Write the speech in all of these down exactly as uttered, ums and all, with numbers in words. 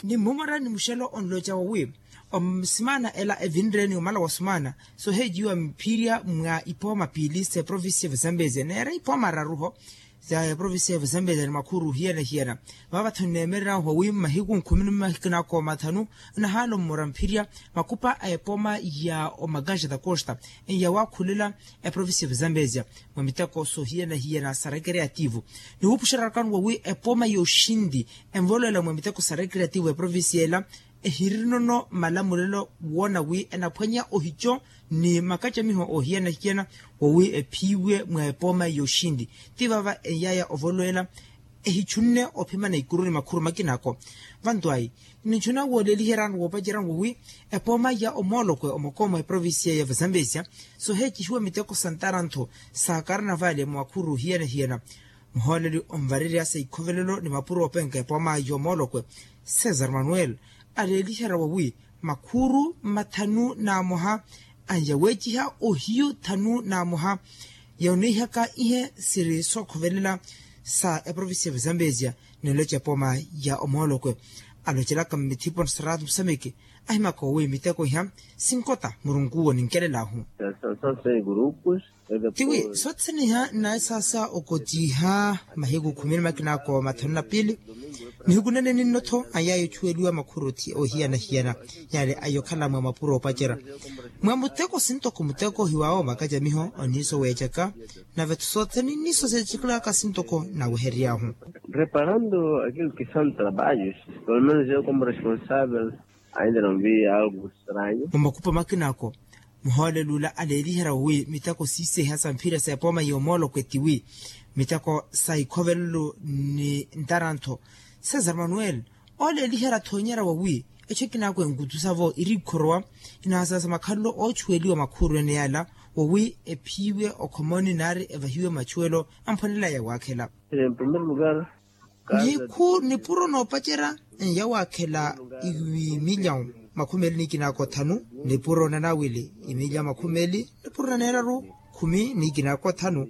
Ni mmumora ni muxelo onloca wawi, osimana ela evinre ni omala wa sumana soheeciwa mphirya mwa ipooma piili sa eprovincia ya vazambezia neera ipooma araruho. Sa eprovincia ya vazambezia ni makhuru hiyana hiyana. Vavatho nneemererya wawi mmahiku nkhumi ni mahiku nako mathanu, nahalo mmora mphirya makupa a epooma ya omagaja da costa, eya waakhulela eprovincia ya vazambezia mwa miteko sohiyana hiyana sa recreativo. Ni wuupuxerya rakano wawi epooma ya oxinti envoloela mwa miteko sa recreativo eprovincia ela, ehirinono malamulelo woona wi enaphwanya ohico ni makacamiho ohiyana-hiyana, wawi ephiiwe mwa epooma ya oxinti. Ti vava eyaaya ovoloela ehichunne ophimana ikuru ni makhuru makinako. Vantu ayi, ninchuna wooleliheryano woopacerya wawi epooma ya omoolokwe omokoomo eprovincia ya vazambezia soheecihiwa miteko sa ntarantho sa karnavali mwa makhuru hiyana-hiyana. Muhooleli onvarerya sa ikhovelelo ni mapuro oopenka epooma ya omoolokwe, cesar manuel, aleeliherya wawi makhuru mathanu n'amoha anyaweeciha ohiyu thanu n'amoha, yawonihaka ihe siri sookhovelela sa eprovincia ya vazambezia. Niloca epooma ya omoolokwe alocelaka mmithipo ni saratu musameke, ahimaka wawi miteko iha sinkota murunkuwo ninkelel'ahu. Tiwi soothene iha nnaesaasa okotiha mahiku khumi ni makinako mathanu na piili. Nihiku nene ninno-tho ayaaya ochuweliwa makhuru ohiyana-hiyana, yaale ayokhala mwa mapuro oopacerya mwa muteko sintoko muteko hiwaawo makacamiho oniiso weecaka. Nave-tho soothene nniiso seecikilaka sintoko nawehery'ahu. Reparando aquilo que são trabalhos, pelo menos eu como responsável ainda não vi algo estranho. Mwa makupa makinako muhooleli ula aleeliherya wawi miteko siiseha sa mphira sa epooma ya omoolokwe tiwi miteko sa ikhovelelo ni ntarantho. Cesar manuel, ooleeliherya thoonyerya wawi echo ekinako enkutusavo iri ikhorowa. Inaasasa makhalelo oochuweliwa makhuru ene yala wawi ephiiwe okhomoni naari evahiwe machuwelo amphwanelaya waakhela. Nihiku nipuro noopacerya nyawaakhela imilyawu makhumi eli ni ikinaako thanu. Nipuro nanawili imilyawu makhumi eli nipuro naneeraru khumi ni ikinaako thanu.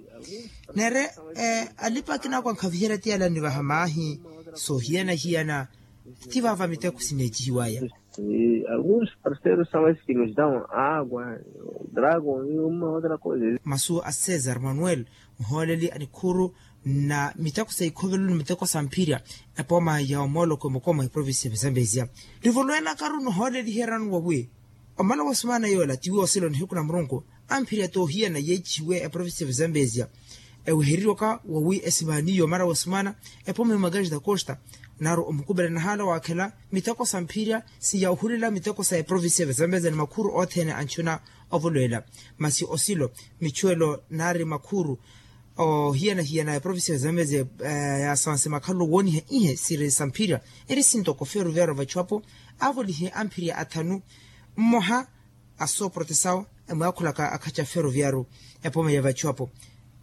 Neere alipa akinaako ankhaviherya ti yala nivaha maahi soohiyana-hiyana. Ti vaava miteko sineecihiwaya. Alguns parceiros são esses que nos dão água, drago e uma outra coisa. Masu a cesar manuel, muhooleli a nikhuru na miteko sa ikhovelelo ni miteko sa mphirya epooma ya omoolokwe mukoma eprovincia ya vazambezia. Nivolowelakaru nihooleliheryano wawi omala wa sumaana yoola tiwi osilo nihiku na murunku amphirya toohiyana yeecihiwe eprovincia ya vazambezia. Ewehereriwaka wawi esimaaniyo mara wa sumaana epooma ya magaja da costa naaru omukupela nahaala waakhela miteko sa mphirya siya ohulela miteko sa eprovincia ya vazambezia ni makhuru othene anchuna ovolowela. Masi osilo michuwelo naari makhuru ohiyana-hiyana eprovincia ya vazambezia yaasanse makhalelo wooniha ihe siri sa mphirya eri sintoko feruviaro vachuwapo aavolihe amphirya athanu mmoha asooprotesawo emwaakhulaka akhaca feroviaru epooma ya vachuwapo.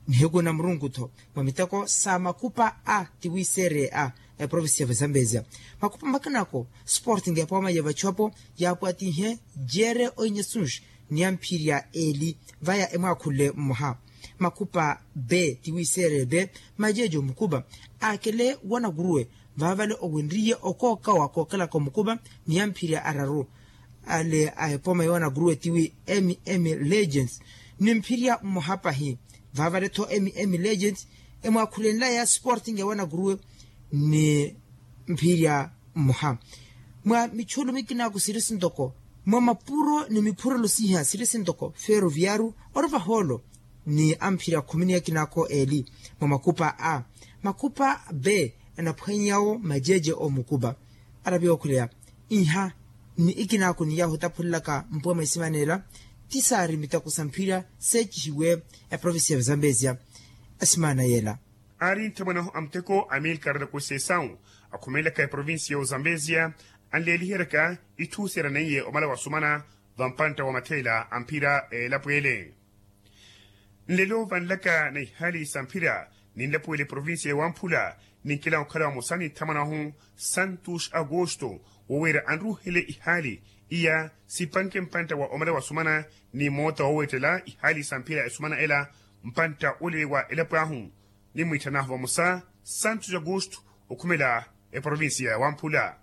Nihiku na murunku-tho mwa miteko sa makupa a tiwiiseereye a eprovincia ya vazambezia makupa makinako sporting epooma ya vachuwapo yaapwatihe jere oinyasunji ni amphirya eli vaya emwaakhule mmoha. Makupa be tiwiiseereye be majeejo mukupa aakele wanakuruwe vaavale owenriye okookawa kookelaka omukupa ni amphirya araru ale a epooma yoonakuruwe tiwi mm legends ni mphirya mmoha pahi. Vaavale-tho mm legends emwaakhulenlaya sporting ya wanakuruwe ni mphirya mmoha. Mwa michulu mikinako siri sintoko mwa mapuro ni miphurelo siiha siri sintoko feroviaru ori vahoolo ni amphirya khumi ni akinaako eli mwa makupa a makupa be anaphwanyawo majeje omukupa. Arapi ookhuleya iha ni ikinaako ni yaahu etaphulelaka mpuwa mwa isimaneela ti saari miteko sa mphirya seecihiwe eprovincia ya vazambezia. Asimaana yeela aari nthamwanahu a muteko amilkar da conceição akhumelaka eprovincia ya ozambezia anleeliheryaka itthu seeraneiye omala wasumana vampantta wa matheela a mphira a elapo ele. Nlelo vanlaka na ihaali sa mphira ni nlapo ele provincia ya wamphula ninkela okhala vamosa ni nthamwanahu santos agosto woweera anruuhele ihaali iya sipanke mpantta wa omala wasumana ni moota woweettela ihaali sa mphira esumana ela mpantta olele wa elapo ahu. Nimwiitthanahu vamosa santos agosto okhumela eprovincia ya wamphula.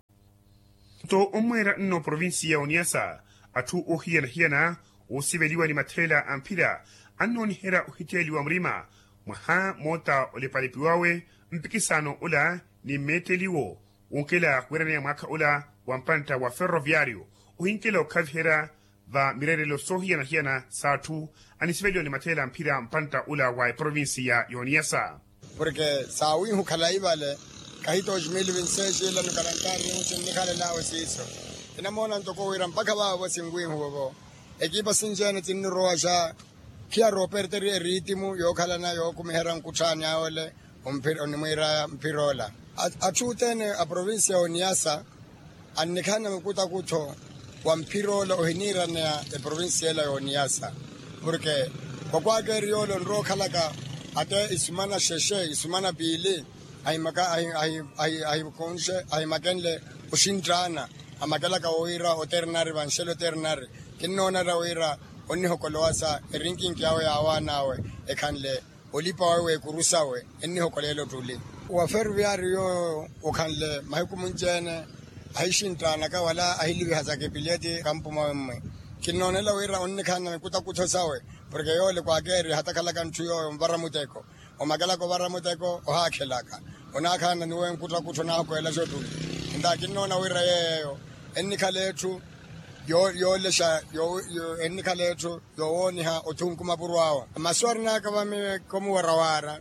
Nto ommweera nno provincia ya oniyasa, atthu oohiyana-hiyana oosiveliwa ni mathelela a mphira annooniherya ohitteeliwa murima mwaha moota olepalepiwawe, mpikisano ola ni mmeetteliwo wonkela wiraneya mwaakha ola wa mpantta wa ferroviario ohinkela okhaviherya va mireerelo soohiyana-hiyana s'atthu anisiveliwa ni mathelela a mphira mpantta ola wa eprovincia y'oniyasa. Porke saawiihu khalayi vale, kahi toximili vinseexi ila ni kalantari ninikhalelaawe siiso. Inamoona ntoko wira mpakha vaavo sinwiihuwe-vo ekipa sinci-ene tinnirowaxa khiya rooperteri eritimu yookhalana yookumiherya nkutthaani awele. Onimwiiraya mphir'ola atthu othene a provincia y'oniyasa annikhanna mukutakuttho wa mphir'ola ohiniiraneya eprovincia ela y'oniyasa. Porke kwakwaakeeri yoole onrowa okhalaka ate isumana xexe isumana piili ahimakenle oxintthana amakelaka wira oternari vanxele oternari. Kinnoonarya wira onnihokolowasa erinkinki awe yaawaan'awe ekhanle olipa wawe w'ekuru sawe ennihokoleela ottuli. Wa ferroviario yooyo okhanle mahiku munci-ene ahixinttanaka wala ahiliviha sa kepileti kampu mwawe mmwi. Kinnoonela wira onnikhanna mikuttakuttho sawe porke yoole kwaakeeri hatakhalaka ntthu yooyo onvara muteko omakelaka ovara muteko ohaakhelaka onaakhanna ni wenkuttakuttu onaahokolela xottuli. Nta kinnoona wira yeeyo ennikhala etthu yoolexa ennikhala etthu yoowooniha othunku mapuro awo. Masu arinaka vami komuwarawaara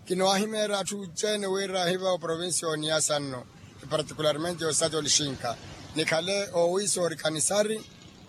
kinoohimeerya atthu ece-ene wira ahiva oprovincia y'oniyasa nno epartikularmente y'osati olixinka nikhale oowiisa orikanisari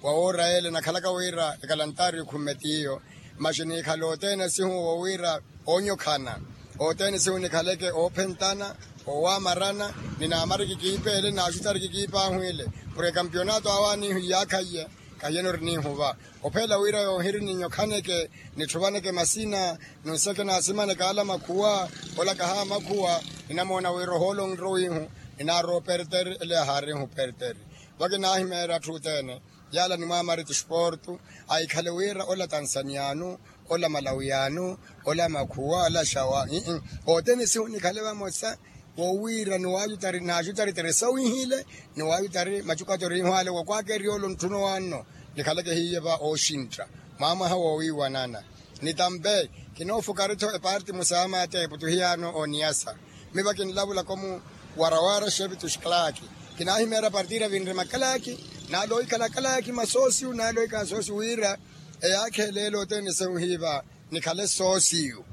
wa woora yeele nakhalaka wira ekalantari khumme t'iyo. Maxi niikhale othene sihu wowiira oonyokhana othene sihu nikhaleke oophentana owaamarana ninaamariki kiipeele naaxutari kikiipaahwiile porke kampionato awaaniihu iyaakhaiye. Kahiyeno oriniihuva ophela wira yoohiri ninyokhaneke nitthuvaneke masina nonseke naasimaneke ala makhuwa ola kahamakhuwa. Ninamoona wira ohoolo onrowiihu ninaarowa operteri ele yahaarihu operteri. Vakinahimeerya atthu othene yaala nimwaamari tisportu ahikhale wira ola tansaniyaanu ola malawiyanu ola makhuwa ola xawa ii othene sihu nikhale vamosa. Wowiira niwaayutari naaxutari tere sawihile niwaayutari macukato riihwaale wakwaakeeri yoole ontthuna owaanno nikhaleke hiiye va ooxintta mwaamwaha woowiiwanana. Ni tampe kinoofukari-tho eparti musaama ate eputuhiyaano ooniyasa. Miva kinlavulaka omuwarawara xevitu xikalaaki kinaahimeerya partira vinre makalaaki naale ohikhala kalaaki masoosiyu naale ohikhala soosiyu wira eyaakha eleelo othene sehu hiiva nikhale soosiyu.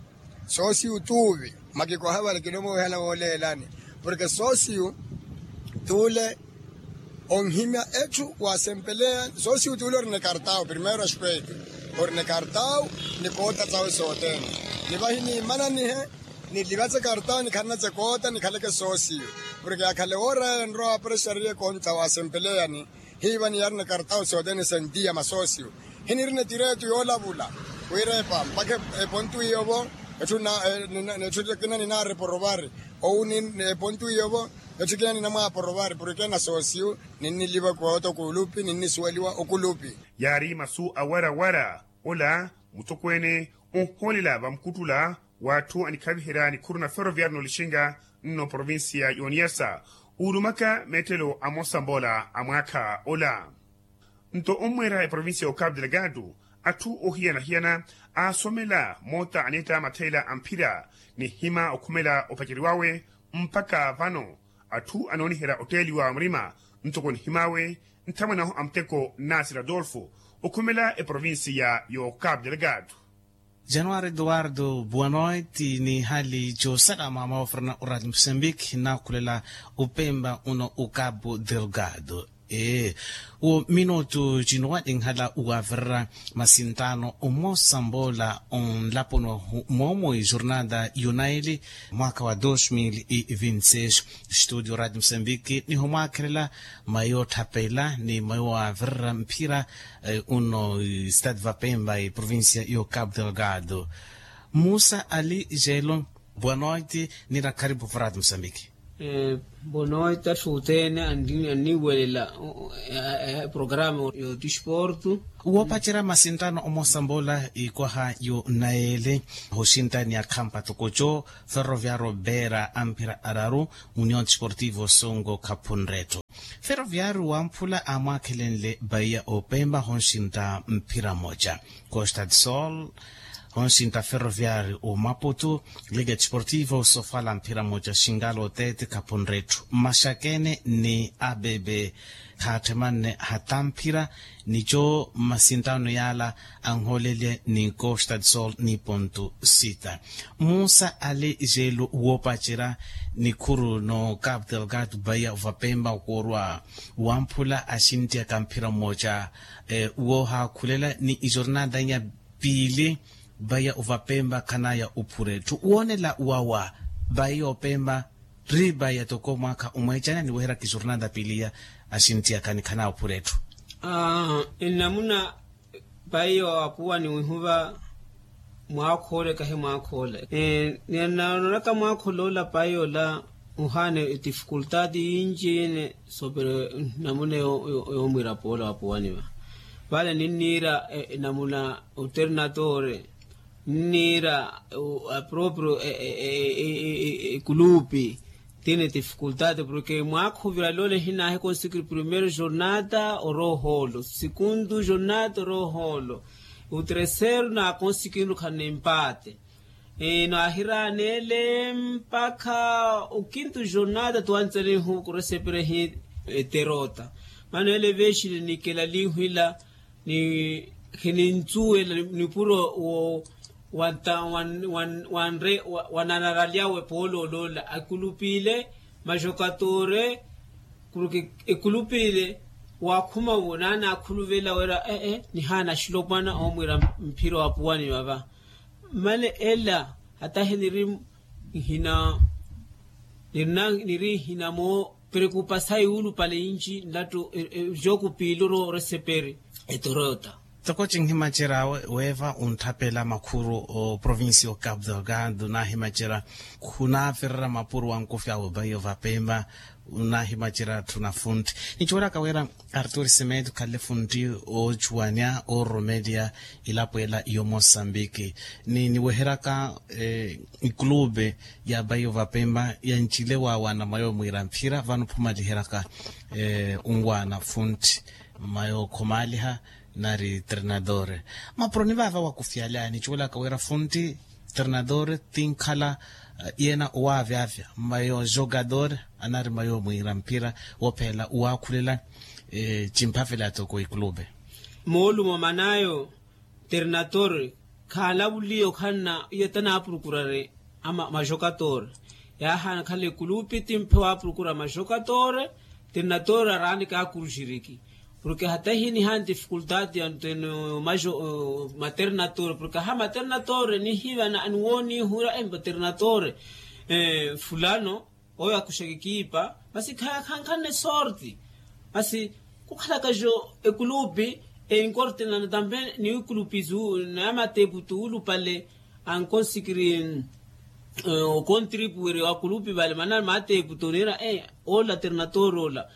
Soosiyu t'uvi makikoha vale kinomuwehana wooleelani porke soosiyu t'ule onhimya etthu waasempeleya soosiyu t'ule orina ekartawu primeiro aspeitu orina ekartawu ni koota sawe sothene. Ni vahi niimananihe nilivatse ekartawu nikhanatse koota nikhaleke soosiyu porke yakhale woora yale enrowa waprexariye konta waasempeleyani hiiva niyarina ekartawu sothene sentiya masoosiyu. Hinirina etireetu yoolavula wira epa mpakha epontu iyo-vo etthu ekina ninaareporovari ou epontu iyo-vo etthu ekina ninamwaaporovari porke nasoosiyu ninniliva koota okulupi ninnisuweliwa okulupi. Yaari masu awarawara ola mutokweene onhoolela vamukuttula w'atthu anikhaviherya nikhuru na ferroviario n'olixinga nno provincia y'oniyasa. Uulumaka meettelo amosa mboola a mwaakha ola nto ommweera eprovincia y'ocapu delgado atthu oohiyana-hiyana aasomela moota aneetta matheela a mphira ni nhima okhumela opaceriwawe mpakha vano atthu anooniherya otteeliwa murima ntoko nihim'awe nthamwanahu a muteko nasi radolfo okhumela eprovincia y'ocapu delgado. Januari eduardo boa noite ni hali josalama mwawavirana oradio moçambique nakhulela opemba uno ocapu delgado. Ee, wo minutu cino waninhala uwavirira masintaano omosa mboola onlaponi wahu moomo ejornada yunaili mwaaka wa dos mil e vinte seis. Estudio radio moçambique niho mwaakhelela mayo otthapela ni mayo waavirira mphira uno stade vapemba eprovincia y'ocapu delgado. Musa ali jelo, boa noite nira kharipu vurati musambiki. Boa noite atthu othene anniwelela programa y'otisportu. Woopacerya masinttano omosambola ikwaha yo nayeele hoxinttani ya khampa tokoco ferroviario beera amphira araru, union tisportivo songo khaphunretto. Ferroviario wamphula amwaakhelenle baiya opemba honxintta mphira moca, costa de sol, honxintta ferroviario omaputu, liga desportivo sofala mphira moca xingalo tete khapunretthu maxakene ni abebe. Khaatthemanne hata mphira nico mmasinttano yaala anhoolelye ni costa de sol ni pontu sita. Musa ali jeelu woopacerya nikhuru no cabo delgado baiya vapemba okoorwa wamphula axinttiyaka mphira mmooca. Woohaakhulela ni ijornada inya piili vaiya ovapemba khanaya ophura etthu woonela wawa. Vaiya opemba ri vaiya toko mwaakha omweecana niweheraka ijornada piili iya axinttiyaka ni khanaya ophura etthu. Nnamuna paiyo apuwani wihuva mwaakhoole kahi mwaakhoole. Ninaonaka mwaakhoole ola paiyo ola ohaana etifikultaati yinci yene soopere. Namuna yoomwiira poola wapuwani va vale ninniira namuna oternatore ninniira aproprio ekulupi. Tini tifikultaati porke mwaakha ovirale ole hinaahi konsikiri primeiro jornada orohoolo sikundu jornada orohoolo. Oteresero naakonsikinru khana empaate. Naahiraanele mpakha okintu jornada tuwantsanihu kuresepere hi eterota. Maana ele vexile nikela linhwila ni khinintsuwela nipuro wo wanta wanre wananaralyawe poolooloola akulupile majokatore. Porke ekulupile waakhuma wo naanaakhuluvela wira ee nihaana axilopwana oomwiira mphira wa puwani vava. Male ela hata hiniri nhina niri nhina moo preocupasayi wuulupale yinci nlattu. Joku piiluru oreseperi etorota. Toko cinhimacerya weeva ontthapela makhuru oprovincia o cabo delgado naahimacerya khunaavirerya mapuro wankofyawe vaiyo vapemba. Naahimacerya atthu na funtti nicuwelaka wira artur semedo khalle funtti oocuwanya ooromelya ilapo ela yo mosambiki. Ni niweheryaka ikulube ya vaiyo vapemba yancile waawana mwayo mwiira mphira vano phumaliheryaka onwaana funtti mwayo khomaliha nari ternadore. Mapuro ni vaava wakufyalaya nicuwelaka wira funtti ternadore tinkhala yena owaavyavya mwayo jogadore anari mwayo mwiira mphira wophelela owaakhulela. Cimphavela toko ikulube moolumo manayo ternatore khaalavuliye okhanna iyo tanaapurukurari ama majokatore. Yaahaana khala ekulupi timphe waapurukurari majokatore ternatore araani kaakuruxiriki. Porke hata hinihaani tifikultaati ya nteno majo maternatore porke aha maternatore nihivana aniwooniihura embo ternatore fulano oyo akuxaka ekipa masi khankhanne sorti. Masi khukhalaka jo ekulupi enkortenana tampe niwikulupi naye matepu tuulupale ankonsikiri okontripuweri wakulupi vale manani matepu toniira ola ternatore ola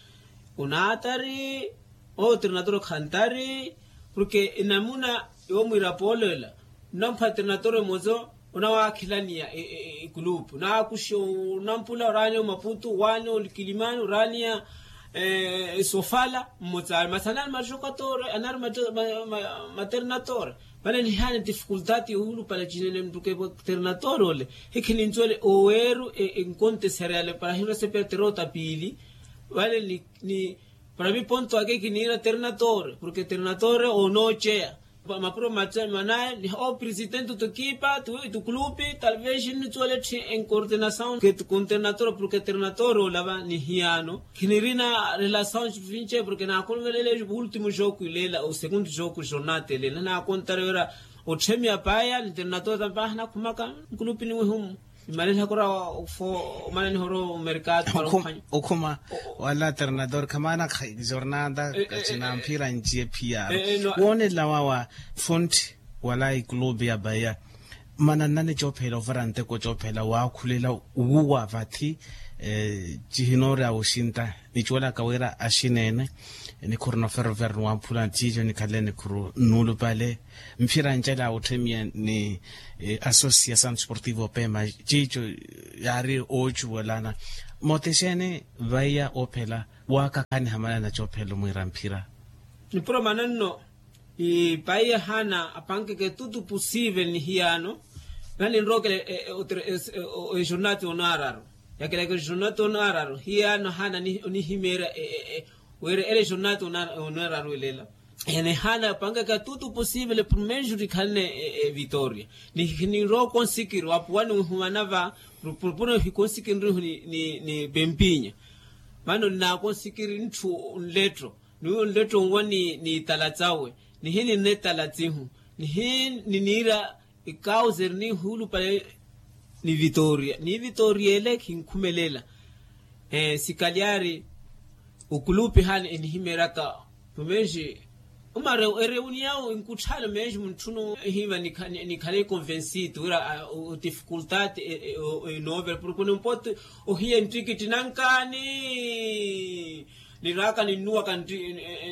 onaatari owo ternatore khantari. Porke enamuna yoomwiira poolela onampha ternatore mozo onawakhilaniya ekulupu naakuxe onampula oraaniya omaputu oraaniya olikilimani oraaniya esofala mmotsaani masi anari majokatore anari maternatore. Vale nihaani tifikultaati yohulupala cinene mttukepo ternatore ole hikhinincuwele oweeru enkontesereyale para hinrosepera terota piili. Vale ni para miponto ake kiniira ternatore porke ternatore onooceya mapuro manaye ni opresidente otukipa tukulupi talvez nituwele etthe enkortenasaw ke tukonternatore porke ternatore olava nihiyano khinirina relasaw vince porke naakonverele ultimo joku ilela o segundo joku jornada elela naakontare wira otthemiya paya niternatore tampe ahanakhumaka nkulupi niwihumu. Imanenhaka ora ofo omanenihoro omerkado. Okhuma wala alternador khamana kha jornada kacina mphira nciye phiya. Woonela wawa fonti wala ikulubi ya baya mananani coophela ovara nteko coophela waakhulela wuwa vathi. Cihinoori awoxinta nicuwelaka wira axineene nikhuru noferoferoni wamphula ciico nikhale nikhuru nnuulupale mphira ncela wotthemiya ni associação desportivo pema ciico yaari oocuwelana. Mooti exeeni vaiya oophela waakakhaniha manana coophela omwiira mphira? Nipuro mananno. Ipaiya haana apankeke tutu pusive ni hiyaano. Naninrookela ejornati onaararu. Yakelaka ejornati onaararu hiyaano haana onihimeerya wira ele ejornati onaararu elela. Ene haana apankeke tutu pusive le purmeju rikhalane evitoria. Ninrowa okonsikiri wapuwani nhumana va. Purpuro hikonsikinrihu ni pempinya. Mano nnakonsikiri ntthu nletto. Ni uwo nletto nwa ni itala tsawe. Nihi ninna itala tsihu. Nihi niniira ikauze eri nihuulupale. Ni vitoria ni vitoria ele khinkhumelela. Sikalyari okulupi hana enihimeeraka pumexi. Omara ereuniyawo enkutthaano mexi muntthunu ehiiva nikhale convensitu wira otifikultati enoovera porke onimpote ohiya enttikitti nankaani. Niraaka ninnuwaka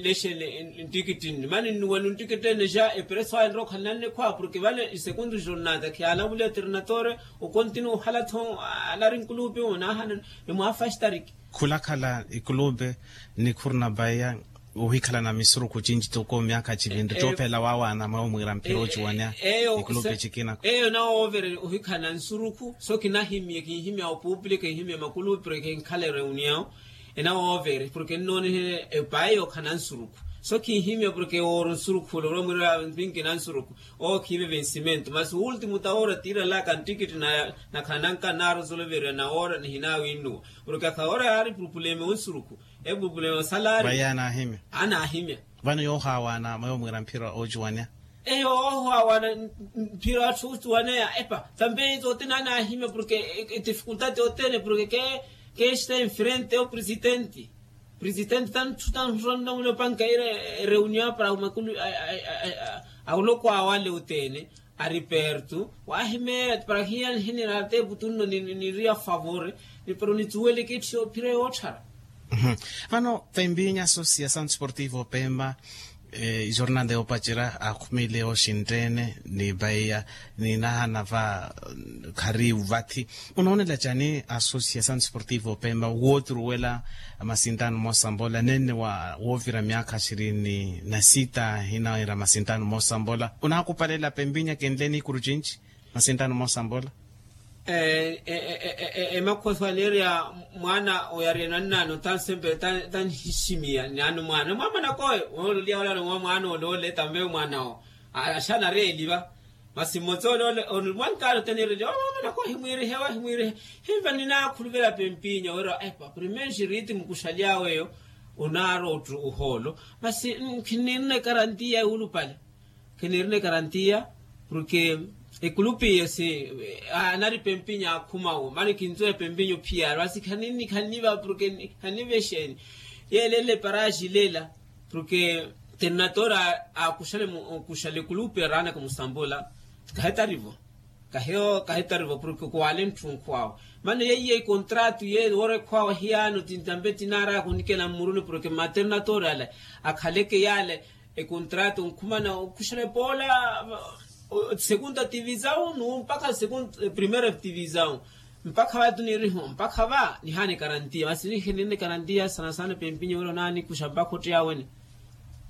lexele enttikitti nne mani nnuwela onttikitti ene xa epreso ayo nrowa okhalananne khwaawa porke vale esekundu jornata khiyaalavuliwa eternatore. Okontinu ohala-tho alari nkulupi onaahana. Emwaafastariki khulakhala ikulupi nikhuru na paiya ohikhalana misurukhu cinci toko myaakha civinri coophela waawaana mwewo mwiira mphira ociwaneya. Eyo ikulupi cikina eyo nawoovere ohikhalana nsurukhu so kinahimye kinhimya opupule kinhimya makulupi porke kinkhala ereuniyawo. Enawoovere porke nnoonihe epayi yookhalana nsurukhu so kinhimya porke wooro nsurukhu ole orowa mwiira pinki na nsurukhu. Ookhiive vensimento masi uultimu ta woora tiiralaka nttikiti nakhala nanka naarosoloveriwa na woora nihinawinnuwa. Porke akhawoora yaari purupuleme onsurukhu epurupuleme osalari. Vaiya anaahimya anaahimya. Vano yoohaawaana mweyo mwiira mphira oocuwaneya. Eyo oohaawaana mphira atthu ocuwaneya epa tambe tothene anaahimya porke etifikultati othene porke keesta enfrente opresitenti. Presidente tantthu tantthu tantthu nnamuna opanka ira ereunion para makulu awuloko awale othene ari perto wahimeya para hiya nihinira atepu tunno niriya favore. Ni para onitsuweleke etthu yoophira yootthara. Vano pempinya associação desportivo pemba ijornada yoopacerya akhumile oxinttene ni paiya ni nahana va khariyu vathi. Onoonela cani associação desportivo pemba wooturuwela masintano moosambola nenne woovira myaakha ishirini na sita hinaira masintano moosambola onaakupalela pempinya kenle nikuru cinci masintano moosambola. Emakhoso aneereya mwaana oyariya nannaano tansempele tanhiximiya nano mwaana mwamanakoyo. Mwaana ole ole tambe mwaanawo axana areeliva. Masi mmotsa ole ole onimwankaano tanireliya omwaamanakoyo himwiirihewa himwiirihe. Himva ninaakhuluvela pempinya wira epa primenxi riiti mukuxaly'awe eyo onaarottu ohoolo. Masi khinirina ekarantiya yuulupale. Khenirina ekarantiya porke ekulupi iyo si anari pempinya akhumawo mani khinzuwa epempinya ophiyaru asi khanini khaniva porke khaniva exeeni. Yeelele paraxi lela porke ternatora akuxale mu okuxale ekulupi araanaka musambola. Kahetarivo kaheyo kahetarivo porke kuwale ntthu nkhuwawo. Mani yeiye ekontratu ye woora ekhwawa hiyano tintambe tinaaraka onikela mmuruni porke maternatori ale akhaleke yale ekontratu nkhumana okuxela epoola. Segunda tivisawu nuwo mpakha segunda primera tivisawu. Mpakha va tuniriho mpakha va nihana ekarantiya masi nihinirina ekarantiya sana sana pempinyo wira onaanikuxa mpakha otteya wene.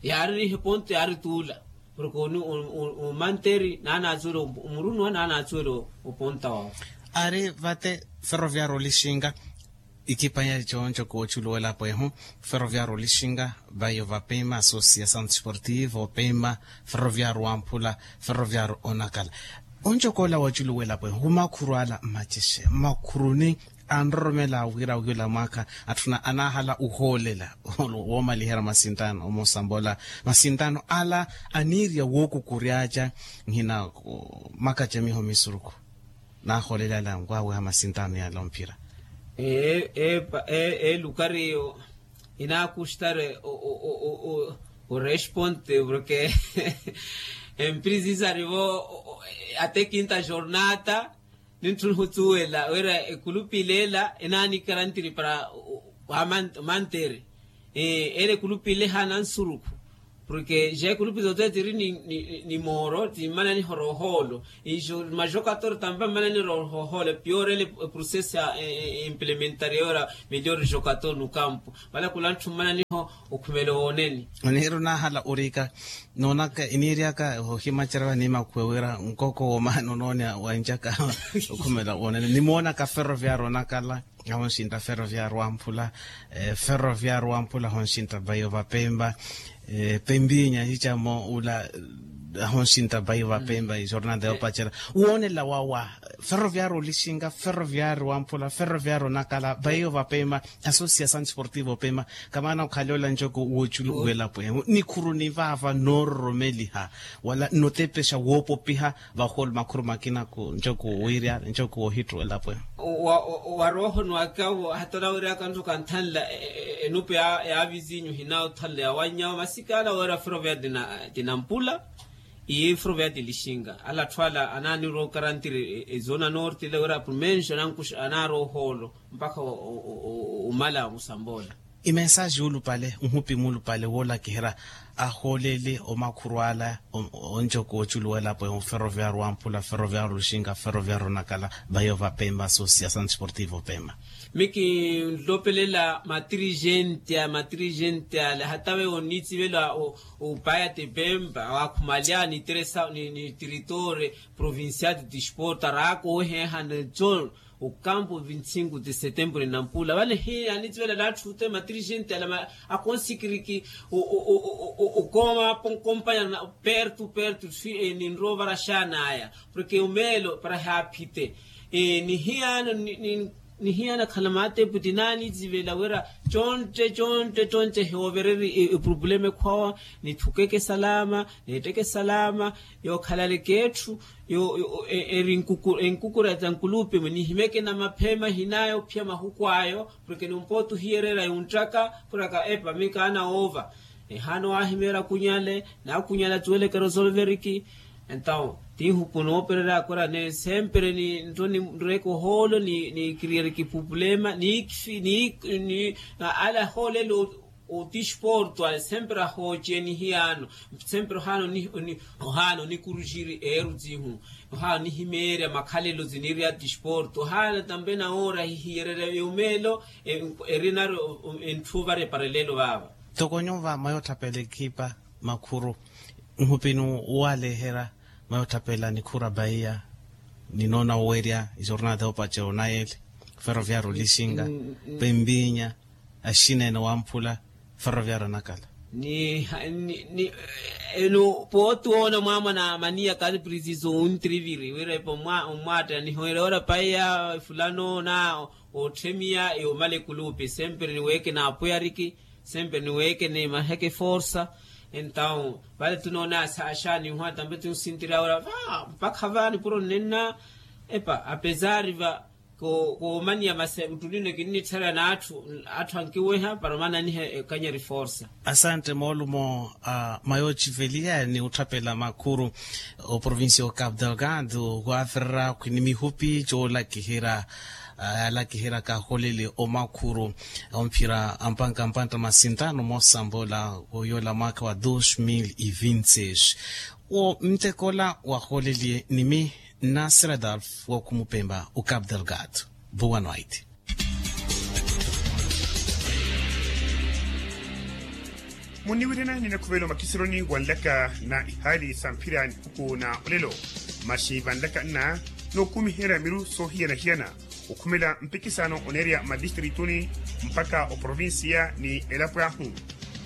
Yaaririha eponto yaarituula porke omanteri naanatsuwela omurunwa naanatsuwela oponta wawe. Ari vate ferroviario olixinga ikipa ya conco kooculola pwehu ferroviario olixinga vayo vapima associação desportivo opima ferroviario wamphula ferroviario onakala. Onco koola wooculola pwehu makhuru ala mmacexe mmakhuruni anroromela wira wiyula mwaakha atthuna anaahala uhoolela woomaliherya masintano omoosambola masintano ala aniirya wookukuryaaca nhina makacamiho misurukhu. Naaholela ala nkwaweha masintano yala omphira. Elukari eyo inaakushtare oresponte porke emprisa isarivo ate kinta jornata. Nintthuna ohutsuwela wira ekulupi ilela enaanikarantiri para wamantere. Ele ekulupi ile haana nsurukhu Porke ja ikulupi zote tiri ni mooro timmananiho rohoolo. Ijo majokator tampa mmananiro rohoolo piyorele. Processo ya implementari yora melhor jokator no kampo. Vale kulanthu mmananiho okhumelo wooneni. Onihiru nahala orika noonaka iniiryaka ohimacerya vaniimakhuwe wira nkoko womaana onooni wanjaka okhumela woonene nimoonaka ferroviario onakala ahonxintta ferroviario wamphula. Ferroviario wamphula ahonxintta baio vapempa. Pempinya hicamo ula ahonxintta baio vapempa ijornal de opacela woonela wawa. Ferroviario olixinka ferroviario wamphula ferroviario onakala baio vapempa. Associação desportiva opema kamaana okhala ola ncoko woculu welapo ehu nikhuruni vaava noororomeliha wala nnotepexa woopopiha. Vahoolo makhuru makina ku ncoko wiirya ncoko woohittu welapo ehu. Wa rooho ni wakawo hata olawiryaka ntoko anthanla enupe ya vizinyu hinawo othanla yawanyawo masikala wira ferroviario tinampula. Iye ferroviario tilixinka ala atthu ala anaanirowa okarantiri ezona norte ile wira prumenxo anankuxa anaari ohoolo mpakha omala musamboola. Imensaxi ulupale nhupi mulupale woolakiherya ahooleli omakhuru ala onjoko oculuwelapo ehu ferroviario wamphula ferroviario luxinka ferroviario nakala baio vapempa associação desportiva opema. Mi kinlopelela matirixenti a matirixenti ale hata veiwo oniitsivela opaya tipempa wakhumaliya niteresa ni tiritore provincial de desporto araaka oweheha neco okampo vinte e cinco de setembro ninampula vale hiya anitivela natthu ute matirixenti ale akonsikiriki okooma kompaña pertu pertu ninrowa ovaraxanaya. Porke omeelo para haaphite nihiyana nihiyana khala maatepu tinaanitivela wira contte contte contte hiyoovereri epurupulema ekhwawa nithukeke salama neetteke salama. Yookhalaleke etthu eri enkukura ta nkulupi-mwe nihimeke namaphema hinayo ophiya mahuku ayo porke numpooti ohiyereera yunttaka khuraka epa mikaana woova. Ehaana owaahimeerya akunyale n'akunyale atuweleke resolveriki. Entawo tiihuku noopererya akorane sempre nireke ohoolo nikiriyeriki pupulema ni ale ahoolelo otisporto ale sempre ahooce nihiyaano. Sempre ohaana onikuruxiri eeru tiihu ohaana onihimeerya makhalelo tiniiri atisporto ohaana tampe nawoora hihiyererya yomeelo. Erinari entthu ovara eparelelo vaava. Ntoko nyuva mwayootthapela ekhipa makhuru nhupini waleherya mwayootthapela nikhuru abaiya ninoona owerya ijornal de opacero nayeli ferroviario lixinga pempinya axineene wamphula ferroviario anakala. Enu pooti woona mwamwana maniya kali prisiso wuntiriviri wira epa omwaatta nihoyerya ora paiya efulano na otthemiya yoomala ekulupi sempre niweeke naapuyariki sempre niweeke nimaheke forsa. Entawo vale tunoona asaxaani nhuwa tampe tunsintirya ora va mpakha va nipuro nnenna epa apesari va koomaniya masi nttunino kinnitthera n'atthu atthu ankiweha para omananiha ekanyari forsa. Asante moolumo a mayoociveliya ni otthapela makhuru oprovincia o capu delgado waafererya khwini mihupi coolakiherya yaalakiherya kaholeli omakhuru omphira ampanka mpantta masintano moosambola woyoola mwaakha wa dos mil e vinte seis. Wo ntekola wahooleliye nimi nna sradolf wa okhumupempa o capu delgado. Boa noite. Munniwirana ninakhuvela omakisironi wa nlaka na ihaali sa mphira nihuku na olelo. Maxi vanlaka nna nookumiherya miru soohiyana-hiyana okhumela mpikisano oneerya madistritu ni mpakha oprovincia ni elapo ahu.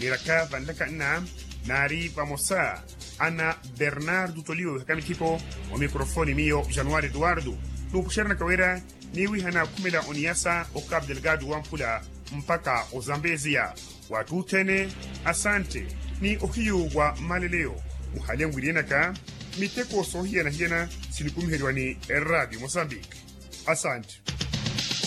Niiraka vanlaka nna naari vamosa ana bernardo tolio wihaka mithipo omikrofoni miyo januari eduardo. Nuupuxeranaka wira niiwihana khumela oniyasa o capu delgado wamphula mpakha ozambezia. Wattuthene asante ni ohiyu wa mmaleleyo. Muhale nwiriyenaka miteko soohiyana-hiyana sinikumiheriwa ni eradio mosambiki. Asante.